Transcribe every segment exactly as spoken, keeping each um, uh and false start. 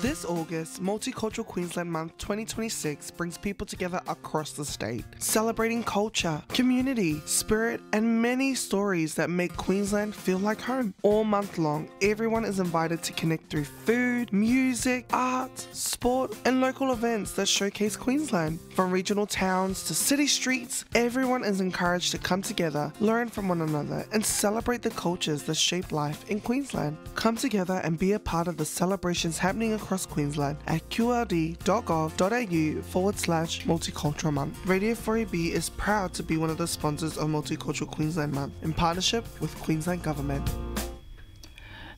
This August, Multicultural Queensland Month twenty twenty-six brings people together across the state, celebrating culture, community, spirit, and many stories that make Queensland feel like home. All month long, everyone is invited to connect through food, music, art, sport, and local events that showcase Queensland. From regional towns to city streets, everyone is encouraged to come together, learn from one another, and celebrate the cultures that shape life in Queensland. Come together and be a part of the celebrations happening across Queensland at qld.gov.au forward slash multicultural month. Radio four A B is proud to be one of the sponsors of Multicultural Queensland Month in partnership with Queensland Government.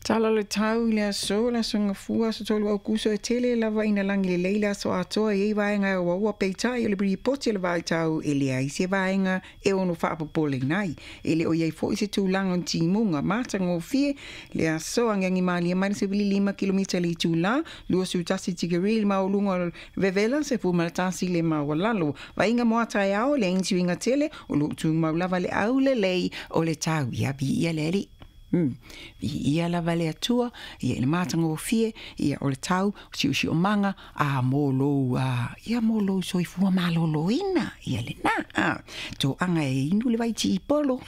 Tala le tau i le aso, le aso ngafua, so tolu au kuso e tele lava ina langi le leila aso atoa e i vaenga e waua peitai o le ripoti le vai tau e le ai se vaenga e ono whaapopole nai. E le o iei fo i se tūlanga o timunga mata ngōfie le aso angiangi malia mai se vili lima kilomita le tūla, lua sutasi tikeri le maulunga vevela se fumalatasi le mawalalo. Vainga moata e ao le inti winga tele o lu tūmau lava le au le lei o le tau ia bi ia leli. Mm. Ia lava le atua, ia le mātanga o fie, ia o le tau, o si usi o manga, a mōlou, a, ia mōlou soifua maloloina, ia le nā, a, tō anga e inu le vai ti i polo.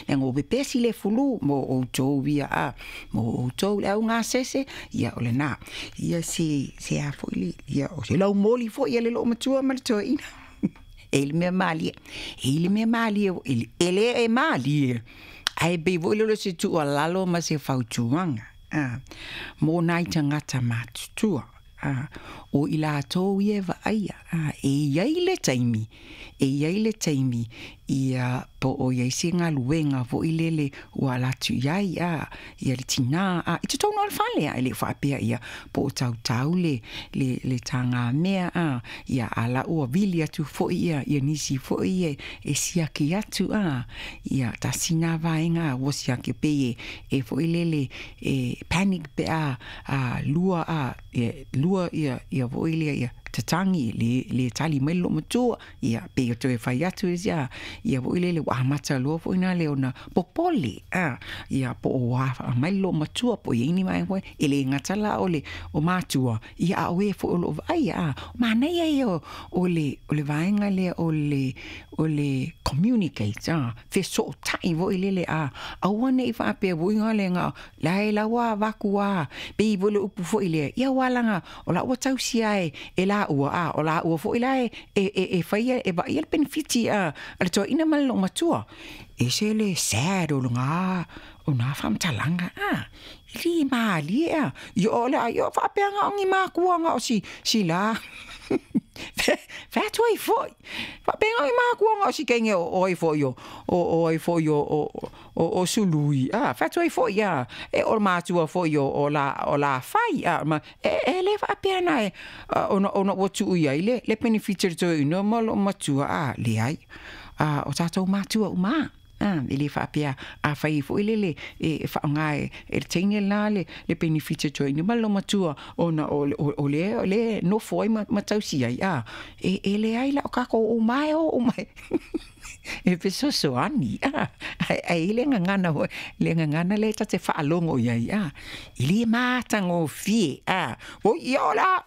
Le ngō pesi le fulu, mō o tō ia, a, mō o tō le au ngā sese, ia o le nā. Ia se, se a foi le, ia o se lau moli foi, ia le loo matua ma le toa ina. E le mea malie, e le mea malie, e le e malie. Ai be voi lolo se tua lalo ma se fautuanga. Ah, mō nai tangata matutua. Ah, o i lātou ia vaia. Ah, e iai le taimi. E iai le taimi. Ia po o iai se ngā luenga voi lele ua latu iai. Ah, ia le tina. Ah, i te tōna o le whale. Ah, e le whaapea ia po o tau tau le, le, le tāngā mea. Ah, ia ala ua vili atu foi ia. Ia nisi foi ia e siaki atu. Ah, ia tasina vaenga. Ua siaki pe e, e foi lele e panic pe a, a lua a, ia, lua ia, ia voi lea ia tatangi le le tali mai lo matua ia pe o toe fai atu ia ia voi lele wa mata lo foi na le ona popole a ia po o wa mai lo matua po ia ni mai foi ele ngatala ole o matua ia o e fo lo ai a mana ia o ole ole vaenga le ole ole communicate a fe so tai voi lele a awane i fa pe voi ngale nga la la wa vakua pe voi le upu foi le ia walanga o la o tausi ai e la ua a o la ua foi la e e e faia e va ia benefiti a le to ina mal matua e se le sad o nga o na fam talanga a li ma li a yo la yo fa pe nga ngi ma ku nga o si si la fa tu ai foi fa pe nga ma ku nga o si kenge o ai foi yo o o ai foi yo o o o sului a fa tu ai foi ya e o ma tu foi yo o la o la fai a ma e e le fa pe na e o no o no tu ia le le benefit to no mo ma tu a le ai a o tatou matua uma. Ah, ele faapea a fai foi lele e whaonga e e teine la le le benefit to ni malo matua ona o o le le no foi ma tausi ai a e e le ai la o kako o mai o mai e fesoso ani a ai le ngana ho le ngana le tate whaalongo ia a ili matango fie a o ia la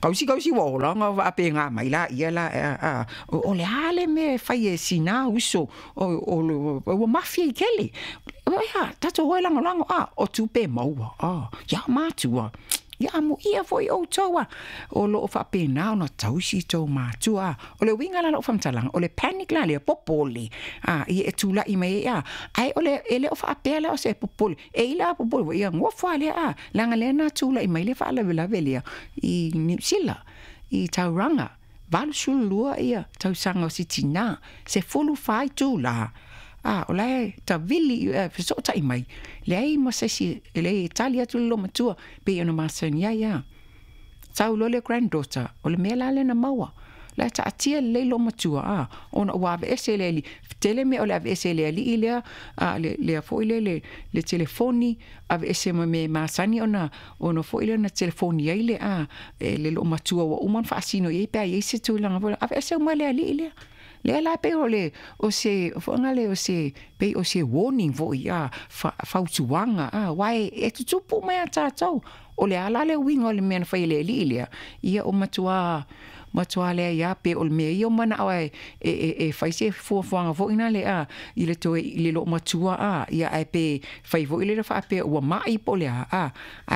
kausi kausi wa ola nga wa pe nga mai la ia la a o le hale me fai e sina uso o o o mafia kele o ia tato hoi lango lango a o tupe maua a ia matua ia mo ia foi o toa o lo fa pe na ona tausi to matua o le winga la lo famtalang o le panic la le popole a i e tula i me ia ai o le ele o fa pe la o se popole e ila popole ia ngo fa le a langa le na tula i me le fa la la velia i New Zealand i Tauranga valu sulua ia tausanga o sitina se fulu fai tula. Ah, o la ta vili so tai mai le ai mo se si le Italia tu lo matua pe ona masani ia tau lo le granddaughter o le mela le na maua la ta atia le lo matua a ona wa ese le li tele me o la ese le li le a le le foi le le le telefoni a ese me masani ona ona foi le na telefoni ai le a le lo matua wa uma fasino e pe ai se tu la a ese ma le li le le la pe o le o se fonga le o se pe o se warning vo ia fautuanga a wai e tutupu mai a tātou o le ala le uiga o le mea na fai e le alii lea ia o matuā matuā lea ia pe o le mea ia o manaʻo e e e fai se fuafuaga foʻi na le a i le toe i le loomatua a ia ae pe fai foʻi le faapea ua maʻi po o le a a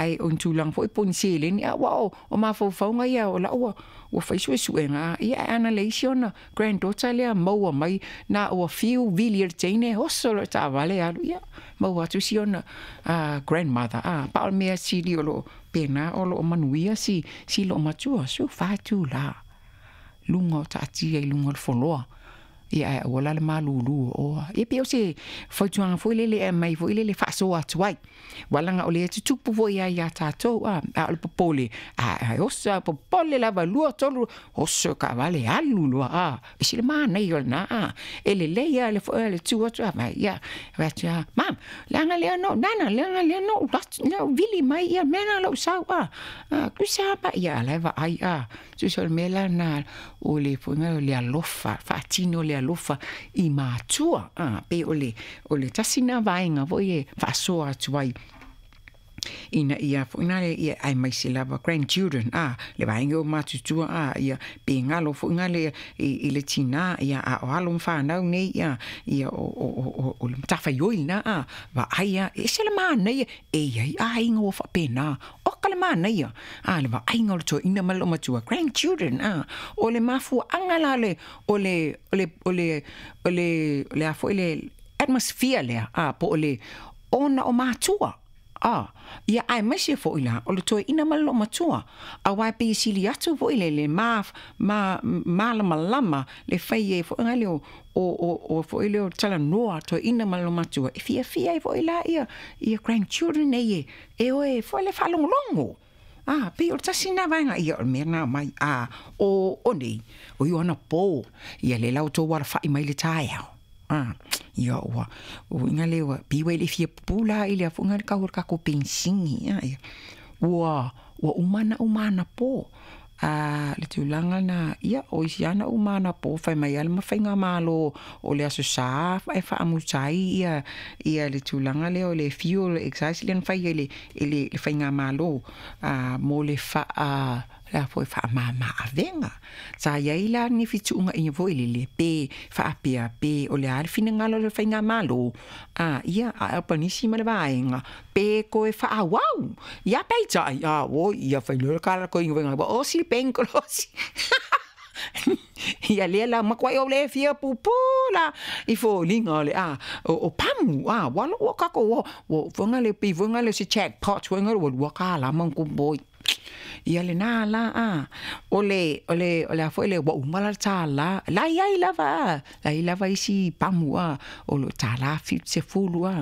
ae o ni tulaga foʻi po o ni seleni a ua o o mafaufauga ia o la'u ua ua fai suesuega a ia ae ana leai si ona granddaughter lea maua mai na ua fiu vili e le teine oso loa i le taavale alu ia maua atu si ona grandmother a pa o le mea sili o loo pena o loo manuia si si loomatua su fa itulā luga o taatia i luga o le foloa ia ae aua la le malūlū o oa ia pei o se fautuaga foi lele e aumai foi lele faasoa atu ai ua laga o lea tutupu foi ai iā tatou a a o le popole a oso a popole lava lua tolu oso kaavale alu loa a ese le manaia o lenā a e lelei a le foi le tu atu a vai ia fai atu a mam leaga lea no nana leaga lea no lea vili mai ia mea na lou sau a tusa pa ia la e vaai a tusa o le mea lena o le foiga o le alofa faatino le alofa i matua a pe o le o le tasi na vaega foi e faasoa atu ai ina ia foʻi le ia aemaise lava grandchildren a le vaega o matutua a ia pe galo foʻi gale i, i le tinā ia a o alo ma fanau nei ia ia o o o o le matafaioi lenā a vaai a e ese le manaia e iai aiga ua faapena oka le manaia a le vaaiga o le toeaina ma le loomatua grandchildren a o le mafuaaga la le o le o le o le o le o le a foʻi le atmosphere lea a po o le ona o matua a ia aemaise foʻi la o le toeaina ma le loomatua auā e pei e sili atu foʻi le le ma ma malamalama le fai ai foʻi le o o o o foʻi le o talanoa toeaina ma le loomatua e fiafia ai foʻi la ia ia grandchildren nei e e oe foʻi le faalogologo a pei o le tasi lena vaega ia o le mea lena mai a o o nei o ia ana pō ia le la outou alafaʻi mai le taeao a ia ua uiga lea ua pei ua e le i fia pupū la i le afoʻiga le kau o le takou penisini a ia ua ua uma ana uma anapō a le tulaga lena ia o isi ana uma anapō fai mai a le mafaigamālō o le aso Sā e faamuta ai ia ia le tulaga lea o le fuel excise lea na fai ai le i le faigamālō a mo le faa le a foi faamāmā avega sa iai la ni fetuugaʻiga foi lele pe faapea pe o le a le finagalo o le faigamālō a ia ae o panisi ma le vaega pe koe faaauau ia peitai a oi ia failoa le kalakoiga faiga osi le penkolosi ia lea la makuaʻi ou le fia pupū la i foliga o le a o, o pamu a ua loo ua takou o ua foiga le pei foiga le se jackpot foiga ua lua kālā ma kuboi ia lenā la a o le o le o le a foi le ua uma la le tālā la iai lava a la iai lava isi pamu a o lo tālā fitu sefulu a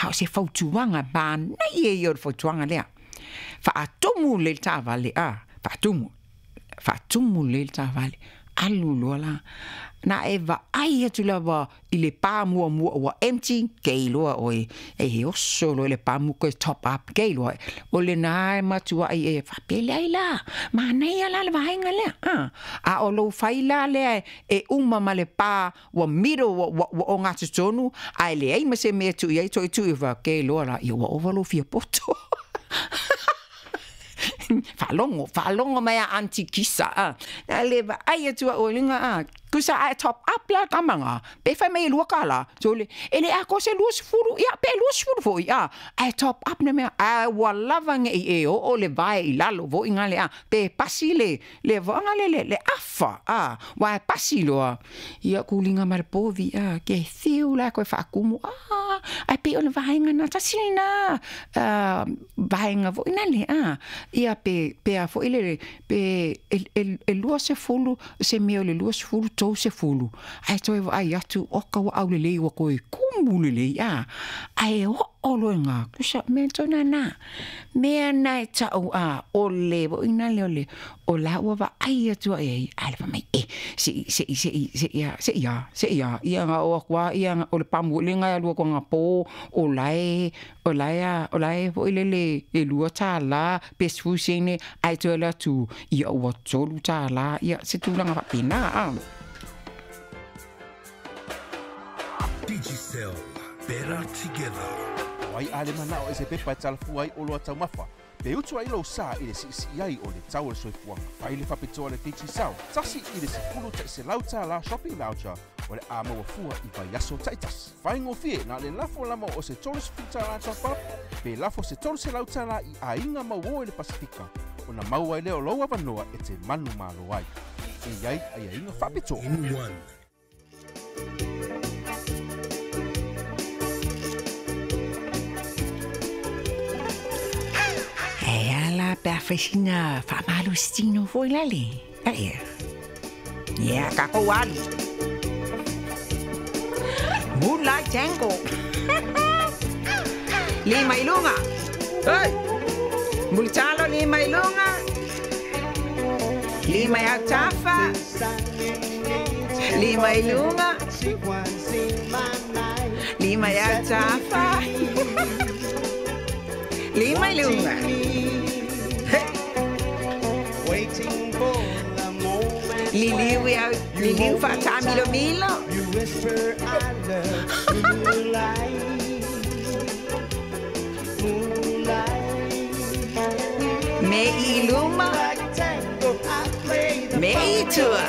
a o se fautuaga manaia ia o le fautuaga lea faatumu lelei le taavale a faatumu faatumu lelei le taavale alu loa la na e vaai atu lava i le pā muamua ua empty kei loa oe e he oso loa i le pamu koe top up kei loa o lenā e matuaʻi e faapele ai la manaia la le vaega lea a a o lou fai la lea e uma ma le pā ua middle ua, ua, ua ogatotonu ae leai ma se mea tuu i ai toe tuu i kei loa la ia ua ova lou fia poto faalogo faalogo mai a aunty Kisa a a le vaai atu au i luga a tusa ae top up la tamaga pe fai mai e lua kālā sole e le atoa se lua sefulu ia pe lua sefulu foʻi a ae top up le mea ae ua lava neʻi e oo le vae i lalo foʻi gale a pe pasi le le vaoga le le le afa a ua e pasi loa ia kuliga ma le povi a ke fiu la koe faakumu a ae pei o le vaega na tasi lenā vaega foʻi nale a ia pe pe a foʻi le pe e, e, e lua sefulu se mea o le lua sefulu tou sefulu ae toe vaai atu oka ua aulelei ua koe kumu lelei a ae oo loa tusa mea tona mea na e taʻu a o le foʻi le o le o la ua vaai atu ai ai ae le fai mai e seʻi seʻi seʻi seʻi a seʻi a seʻi a ia ga o aku a ia o le pamu le ga lua ko nga po o lae o lae a o lae foʻi lele e lua tālā pe sefulu sene ae toe le atu ia ua tolu tālā ia se tulaga faapena a Digicel. Better together. Ai a le manao e se pepa e talafua ai o loa taumafa. Pe utu ai lou sa i le siisii ai o le tau o le soifuaga. Fai le faapitoa le Digicel, tasi i le sefulu ta'iselau tālā shopping voucher o le a maua fua i vaiaso ta'itasi. Faigofie na le lafo lava o se tolu sefulu tālā top up, pe lafo se tolu selau tālā i aiga mauō i le Pasifika, ona maua ai lea o lou avanoa e te manumalo ai. E iai aiaiga faapitoa. N one. E ala pe a whaisina whaamalositino foi lale. Ae. Ia, ka kou alu. Moonlight Tango. Lima i lunga. Hey! Mulitalo lima i lunga. Lima i autafa. Lima i lunga. Lima i autafa. Lima i lunga. Hey! Liliu i au, liliu whaatamilo milo. You whisper I love you, moonlight, moonlight. Me i luma. Like tango, I play the Me i tua.